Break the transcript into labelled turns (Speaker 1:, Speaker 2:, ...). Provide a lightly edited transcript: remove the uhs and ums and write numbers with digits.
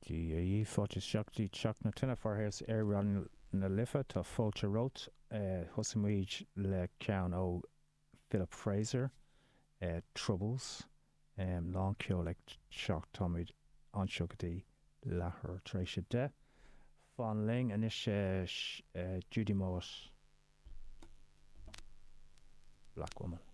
Speaker 1: Dia dhaoibh, fáilte isteach go dtí Teach na Tine, fear thíos ar Raidió na Life. Tá fáilte romhat. Thosaigh muid le ceann ó Philip Fraser, Troubles. Lán ceoil ag teacht. Táimid anseo go dtí leathuair tar éis 10. Fan linn anois Judy Mowatt, Black Woman.